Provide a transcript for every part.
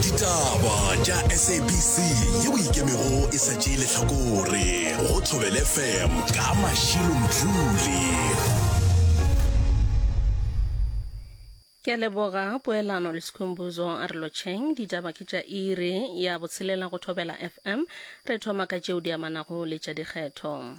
Ditaba tša SABC yeo e ikemego e sa tšee lehlakore go Thobela FM ka Mashilo Mdluli. Ke a leboga poelano le Sikhumbuzo a re lotšheng. Ditaba ke tša iri ya botshelela go Thobela FM. Re thoma ka tšeo di amanago le tša dikgetho.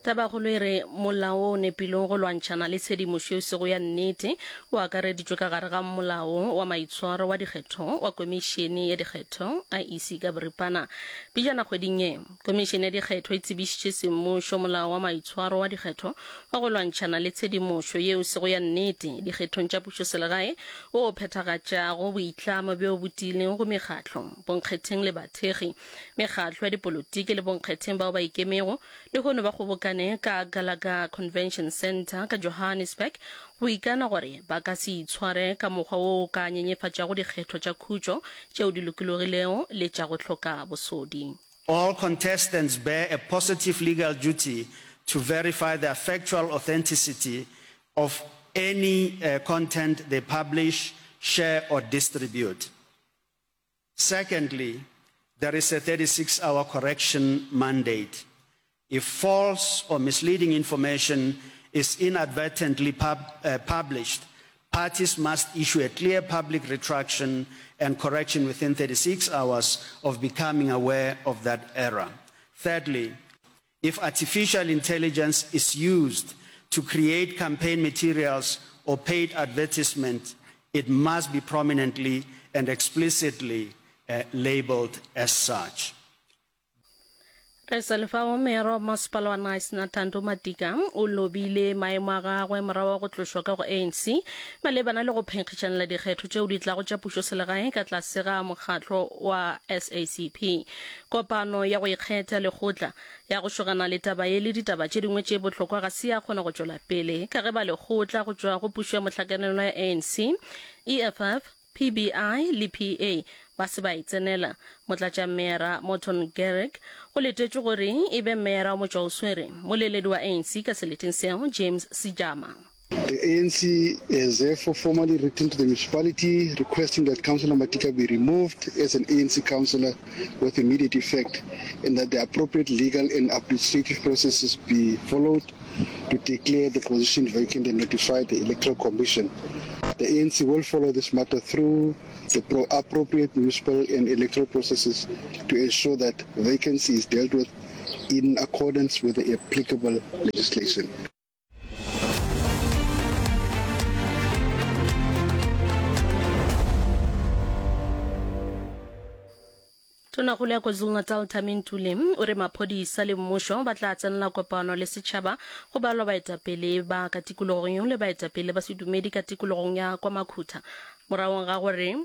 Tabakgolo e re molao wo o nepilego go lwantšhana le tshedimošo e sego ya nnete o akareditšwe ka gare ga Molao wa Maitshwaro wa Dikgetho wa Komišene ya Dikgetho, IEC ka boripana. Pejana kgweding ye, Komišene ya Dikgetho e tsebišitše semmušo Molao wa Maitshwaro wa Dikgetho wa go lwantšhana le tshedimošo yeo e sego ya nnete dikgethong tša pušoselegae wo o phethagatšago boitlamo bjo bo tiilego go mekgatlo, bonkgetheng le bathekgi, mekgatlo ya dipolotiki le bonkgetheng bao ba ikemego lehono ba kgobokane ka Gallagher Convention Centre ka Johannesburg go ikana gore ba ka se itshware ka mokgwa wo o ka nyenyefatšago dikgetho tša khutšo tšeo di lokologilego le tša go hloka bosodi. All contestants bear a positive legal duty to verify the factual authenticity of any content they publish, share or distribute. Secondly, there is a 36-hour correction mandate. If false or misleading information is inadvertently pub, uh, published, parties must issue a clear public retraction and correction within 36 hours of becoming aware of that error. Thirdly, if artificial intelligence is used to create campaign materials or paid advertisement, it must be prominently and explicitly uh, labeled as such. Re sa le fao, Meyara wa Masepala wa Knysna Thando Matika o lobile maemo a gagwe morago ga go tlošwa ka go ANC malebana le go phenkgišanela dikgetho tšeo di tlago tša pušoselegae ka tlase ga mokgatlo wa SACP. Kopano ya go ikgetha lekgotla ya go šogana le taba ye le ditaba tše dingwe tše bohlokwa ga se ya kgona go tšwela pele ka ge ba lekgotla go tšwa go pušo ya mohlakanelwa ya ANC, EFF, PBI le PA ba se ba e tsenela. Motlatšameyara Morton Garrick go letetšwe gore e be meyara wa motšwaoswere, moleledi wa ANC ka seleteng seo, James Sejama. The ANC has therefore formally written to the municipality requesting that Councillor Matika be removed as an ANC councillor with immediate effect and that the appropriate legal and administrative processes be followed to declare the position vacant and notify the Electoral Commission. The ANC will follow this matter through the pro appropriate municipal and electoral processes to ensure that vacancy is dealt with in accordance with the applicable legislation. Tonakgolo ya KwaZulu-Natal Thami Ntuli o re maphodisa le mmušo ba tla tsenela kopano le setšhaba go balwa baetapele ba ka tikologong yeo le baetapele ba sedumedi ka tikologong ya kwa Makhutha moragong ga gore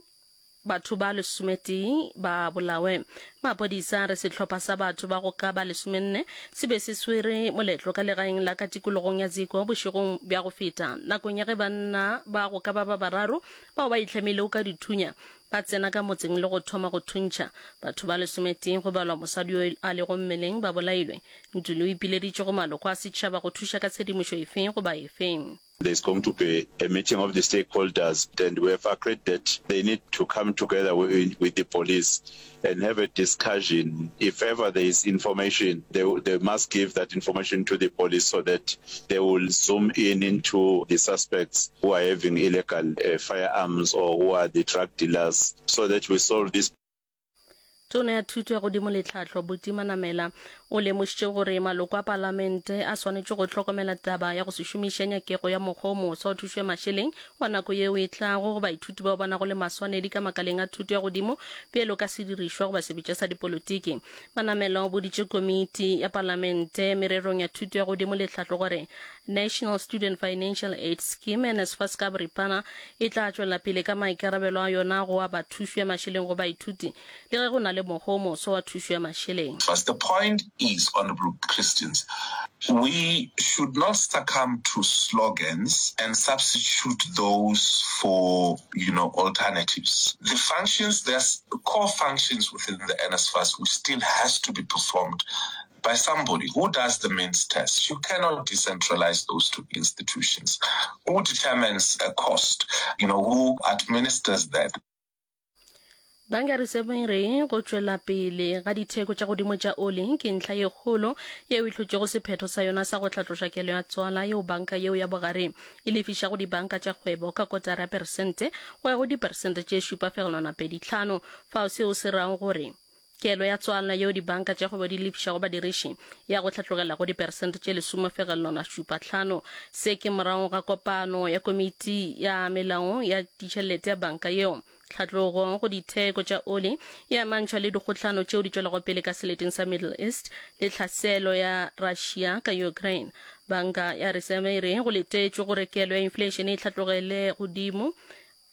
batho ba lesometee ba bolawe. Maphodisa a re sehlopha sa batho ba go ka ba lesomenne se be se swere moletlo ka legaeng la ka tikologong ya Ziko bošegong bja go feta nakong ya ge banna ba go ka ba ba bararo bao ba itlhamilego ka dithunya Ba tsena ka motseng le go thoma go thuntšha. Batho ba lesometee, go balwa mosadi yo a lego mmeleng, ba bolailwe. Ntuli o ipileditše go maloko a setšhaba go thuša ka tshedimošo efe goba efe. There is going to be a meeting of the stakeholders and we have agreed that they need to come together with the police and have a discussion. If ever there is information, they, they must give that information to the police so that they will zoom in into the suspects who are having illegal uh, firearms or who are the drug dealers so that we solve this Tona ya Thuto ya Godimo le Tlhahlo, Buti Manamela, o lemošitše gore maloko a palamente a swanetše go hlokomela taba ya go se šomiše nyakego ya mokgwa o moswa wa thušo ya mašeleng wa nako yeo e tlago go baithuti bao ba nago le maswanedi ka makaleng a thuto ya godimo bjalo ka sedirišwa goba sebetša sa dipolotiki. Manamela o boditše komiti ya palamente mererong ya thuto ya godimo le tlhahlo gore National Student Financial Aid Scheme, NSFAS ka boripana, e tla tšwela pele ka maikarabelo a yona go aba thušo ya mašeleng go baithuti le ge go na le mokgwa o moswa wa thušo ya mašeleng. First, the point is, Honourable Christians, we should not succumb to slogans and substitute those for, you know, alternatives. The functions, there's core functions within the NSFAS which still has to be performed. by somebody. Who does the means test? You cannot decentralize those two institutions. Who determines a cost? You know, who administers that? Banka ya Reserve e re go tšwela pele ga ditheko tša godimo tša oli ke ntlha ye kgolo yeo e hlotšego sephetho sa yona sa go hlatloša kelo ya tswala yeo banka yeo ya bogare e lefišago dibanka tša kgwebo ka kotara ya peresente go ya go diperesente tše 7,25 fao seo se rago gore Kelo ya tswalano yeo dibanka tša kgwebo di lefišago badiriši ya go hlatlogela go diperesente tše 10.75. Se ke morago ga kopano ya komiti ya melao ya ditšhelete ya banka yeo. Tlhatlogo go ditheko tša oli e amantšhwa le dikgohlano tšeo di tšwelago pele ka seleteng sa Middle East le tlhaselo ya Russia ka Ukraine. Banka ya Reseve e re go letetšwe gore kelo ya inflation e hlatlogele godimo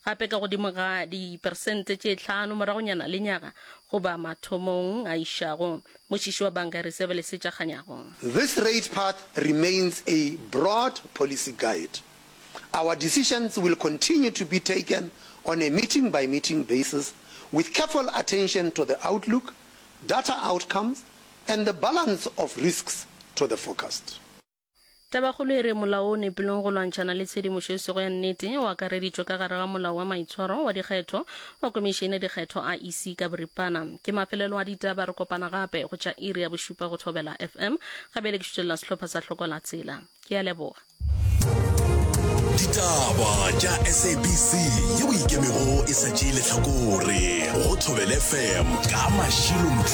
Gape ka godimo ga diperesente tše tlhano moragonyana lenyaga goba mathomong a išago. Mošiši wa Banka ya Reseve Lesetša Kganyago. This rate path remains a broad policy guide. Our decisions will continue to be taken on a meeting-by-meeting basis with careful attention to the outlook, data outcomes and the balance of risks to the forecast. Tabakgolo e re molao o nepileng go lwantšhana le tshedimošo e sego ya nnete o akareditšwe ka gare ga Molao wa Maitshwaro wa Dikgetho wa Komišene ya Dikgetho, IEC, ka boripana. Ke mafelelo a ditaba, re kopana gape go tša iri ya bošupa go Thobela FM. Ga bjale ke šutelela sehlopha sa Hloko la Tsela. Ke a leboga. Ditaba tša SABC yeo e ikemego e sa tšee lehlakore go Thobela FM ka Mashilo Mdluli.